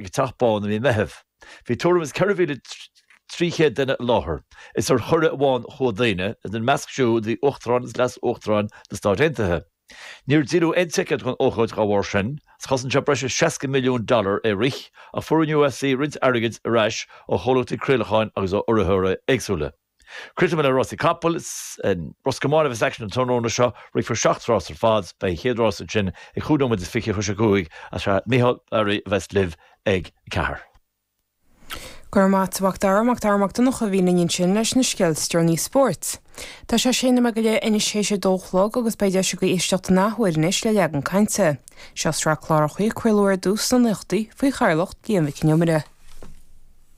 ag an Teach Bán i mí Meitheamh. Bhí tuairim is 4,300 duine i láthair. Is ar chuireadh amháin a chuaigh daoine, ina measc siúd bhí Uachtarán agus Leas-Uachtarán na Stáit Aontaithe. Níor díoladh aon ticéad don ócáid dá bharr sin, 's chosain sé breis is 60 milliún dollar é rith, ach fuair an UFC roinnt airgid ar ais ó chomhlachtaí craolacháin agus ó urraitheoirí éagsúla. Críochnóidh mé le rásaí capall. Is in Ros Comáin a bheas aicsean an tráthnóna seo. Rithfear 7 rás ar fad. Beidh an chéad rás ansin ag 25 nóiméad tar éis 5 agus sé Micheál Barry a bheas libh ag 4. Go raibh maith a't a Mhac Dara, Mac Dara Mac Donncha a bhí linn ansin leis na scéalta is deireanaí spóirt. Tá sé sé nóiméad go leith anois théis a dó a chlog agus beidh deis agaibh éisteacht an athuair anois le Leagan Cainte. Seo sraith cláracha a craoladh ar dtús sna naochadaí faoi chathaoirleacht Liam Mhic Con Iomaire.